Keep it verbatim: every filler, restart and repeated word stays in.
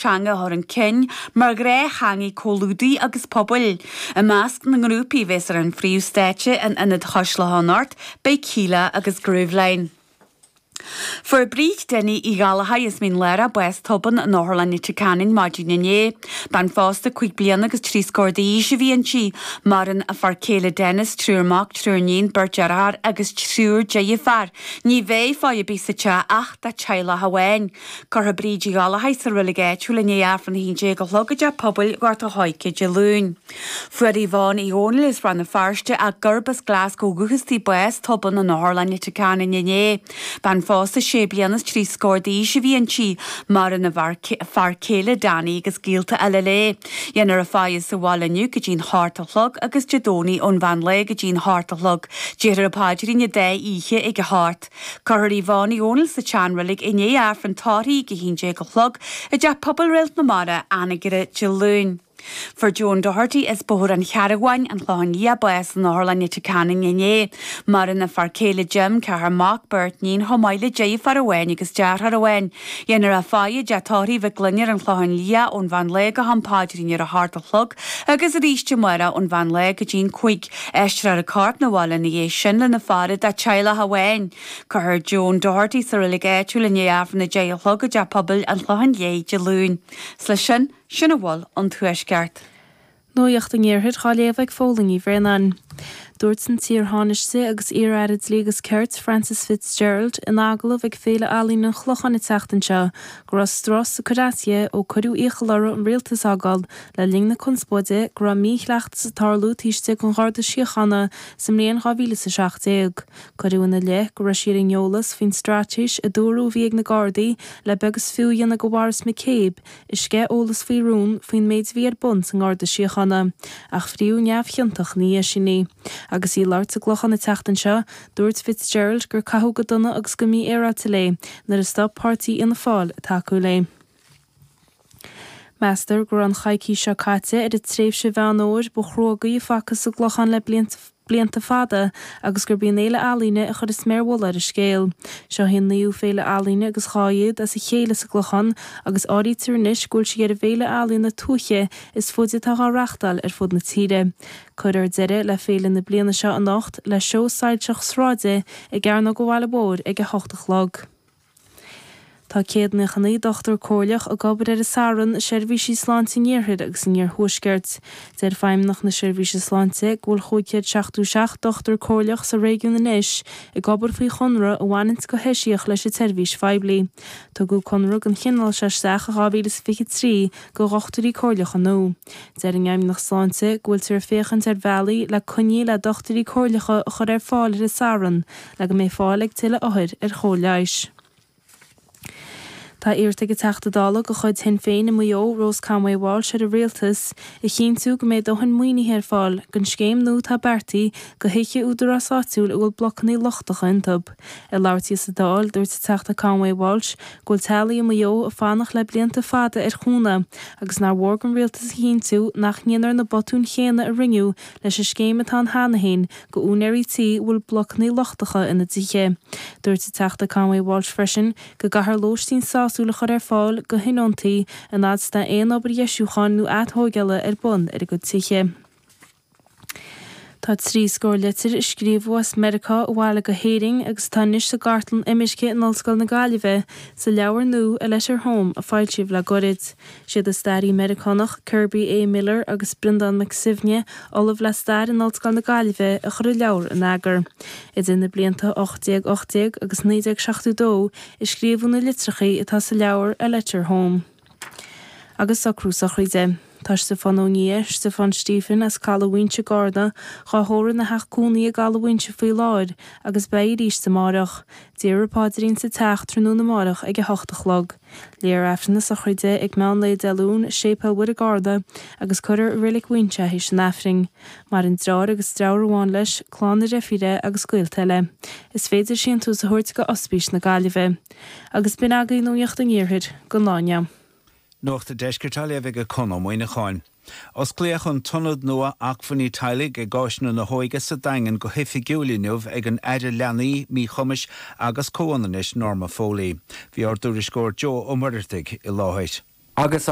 teanga a chur chun cinn mar ghnáth-theanga comhluadair agus pobail. I measc na ngrúpaí a bheas ar an phríomhstáitse in Ionad Chois Locha anocht, beidh Kíla agus Grooveline. Fuair Bríd Denny Uí Ghallchóir as Mín Lárach bás tobann in Otharlann Leitir Ceanainn maidin inné. Bean phósta cúig bliana agus trí scór d'aois a bhí inti. Maireann a fear céile Dennis, triúr mac, triúr iníon, beirt deartháir agus triúr deirfiúr. Ní bheidh faire ar bith sa teach ach dá teaghlach amháin. Cuirfear Bríd Uí Ghallchóir sa reilig áitiúil i ndiaidh Aifreann a haon déag a chlog i dteach pobail Ghort a' Choirce Dé Luain. Fuair Yvonne Uí Dhónaill as Rann na Feirste ach gurb as Glasgow ó dhúchas di bás tobann in Otharlann Leitir Ceanainn inné. Bean phósta sé bliana is trí scór d'aois a bhí inti, maireann a fear céile Danny agus gaolta eile léi. Déanfar a faire sa bhaile inniu go dtí'n hocht a chlog agus Dé Domhnaigh ón mheán lae go dtí'n hocht a chlog. Déarfar an paidrín an dá oíche ag a hocht. Cuirfear Yvonne Uí Dhónaill sa tseanreilig i ndiaidh Aifreann tórraimh ag a haon déag a chlog i dteach pobail Réalt na Mara, Anagaire Dé Luain. Fuair Joan Doherty as Bóthar an Chearabháin, an Clochán Liath bás in Otharlann Leitir Ceanainn inné. Maireann a fear céile Jim, ceathrar mac, beirt iníon chomh maith le deirfiúr amháin agus deartháir amháin. Déanfar a faire i dteach tórraimh Mhic Gloinn ar an Chlochán Liath ón mheán lae go ham paidrín ar a hocht a chlog agus arís amárach ón mheán lae go dtí'n cúig. Aistreofar a corp 'na bhaile ina dhiaidh sin lena faire dá teaghlach amháin. Cuirfear Joan Doherty sa reilig áitiúil i ndiaidh Aifreann a deich a chlog i dteach pobail an Chlocháin Léith Dé Luain. 'S leis sin, sin a bhfuil ón Tuaisceart. Nuacht an Iarthair á léamh ag Fódhla Ní Bhraonáin. Dúirt an t-iar-thánaiste agus iar-aire dlí agus cirt Frances Fitzgerald in agallamh ag Féile Ealaíon an Chlocháin an tseachtain seo go raibh strus ag cur as di ó cuireadh iachall uirthi an rialtas a fhágáil le linn na conspóide go raibh míchleachtas ag tarlú taobh istigh den Gharda Síochána sa mbliain dhá mhíle is a seacht déag. Cuireadh ina leith go raibh sí ar an eolas faoin straitéis a dúradh a bhí ag na Gardaí le beag is fiú a dhéanamh de Mhaurice McCabe a sceith eolas faoi rún faoin méid a bhí ar bun sa nGarda Síochána, ach fríodh neamhchiontach ina dhiaidh sin í. Agus í ag labhairt sa gClochán an tseachtain seo, dúirt Fitzgerald gur caitheadh go dona agus go mífhéaráilte léi nuair a stop páirtí Fhianna Fáil ag tacú léi. Meastar go raibh an choicís seo caite ar an tréimhse Mheán Fhómhair ba chrua gaoth a facthas sa gClochán le blianta fada agus gurb í an Fhéile Ealaíne a chuir an sméar mhullaigh ar an scéal. Seo í an naoú féile ealaíne agus dhá fhichead as a chéile sa gClochán agus áirítear anois go bhfuil sí ar an bhféile ealaíona tuaithe is faide atá á reáchtáil ar fud na tíre. Cuirfear deireadh le féile na bliana seo anocht le seó soilseach sráide i gCearnóg an Bhaile Mhóir ag a hocht a chlog. Tá céad nócha naoi dochtúir comhairleach ag obair ar an Satharn i seirbhísí sláinte an Iarthair agus an Iarthuaiscirt. Deir Feidhmeannacht na Seirbhíse Sláinte go bhfuil chúig chéad seachtó seacht dochtúir comhairleach sa réigiún anois ag obair faoi chonradh a bhaineanns go heisiach leis an tseirbhís phoiblí. Tugadh conradh den chineál seo isteach i dhá mhíle is fiche trí do dhochtúirí comhairleacha nua. Deir an Fheidhmeannacht Sláinte go bhfuiltear ag féachaint ar bhealaí le coinní le dochtúirí comhairleacha a chur ar fáil ar an Satharn le go mbeidh fáil ag tuilleadh othair ar chóir leighis. Tá iarrta ag an Teachta Dála de chuid Shinn Féin i Maigh Eo, Rose Conway Walsh ar an Rialtas a chinntiú go mbeidh dóthain maoinithe ar fáil don scéim nua atá beartaithe do thithe údarás áitiúil a bhfuil blocanna lochtacha iontu. Ag labhairt di sa Dáil, dúirt an Teachta Conway Walsh go bhfuil teaghlaigh i Maigh Eo ag fanacht le blianta fada ar chúnamh agus nár mhór don Rialtas a chinntiú nach ndéanfar na botúin chéanna a rinneadh leis an scéim atá ann cheana féin do úinéirí tí a bhfuil blocanna lochtacha ina dtithe. Dúirt an Teachta Conway Walsh freisin go gcaithfear lóistín sásúil a chur ar fáil do thionóntaí an fhad is atá aon obair dheisiúcháin nó atógála ar bun ar a gcuid tithe. Tá trí scór litir a scríobhadh as Meiriceá abhaile go hÉirinn agus atá anois sa gcartlann imirce in Ollscoil na Gaillimhe sa leabhar nua A Letter Home a foilsíodh le gairid. Siad an staraí Meiriceánach Kirby A. Miller agus Breandán Mac Suibhne, ollamh le stair in Ollscoil na Gaillimhe, a chuir an leabhar in eagar. Idir na blianta ocht déag ocht déag agus naoi déag seachtó dó a scríobhadh na litreacha atá sa leabhar A Letter Home. Agus socrú sochraide. Tá Stiofán Ó Nia, Stiofán Stephen, as Caladh Mhaínse i gCarna, dhá thórramh ina theach cónaí i gCaladh Mhaínse faoi láthair agus beidh arís amáireach. Déarfar paidrín sa teach tráthnóna amáireach ag a hocht a chlog. Léifear Aifreann na sochraide ag meán lae Dé Luain i Séipéal Mhuire i gCarna agus cuirfear i Reilig Mhaínse é théis an Aifrinn. Maireann deartháir agus deirfiúr amháin leis, clann a dheirfíre agus gaolta eile. Is féidir síntiús a thabhairt go Ospís na Gaillimhe. Agus b'in agaibh Nuacht an Iarthair don lá inniu. Nuacht an Deiscirt á léamh ag Conn Ó Muíneacháin. Osclaíodh an tIonad nua Acmhainní Teaghlaigh ag Áiseanna na hÓige sa Daingean go hoifigiúil inniu ag an Aire Leanaí, Míchumais agus Comhionannais Norma Foley. Bhí ár dtuairisceoir Joe Ó Muircheartaigh i láthair. Agus an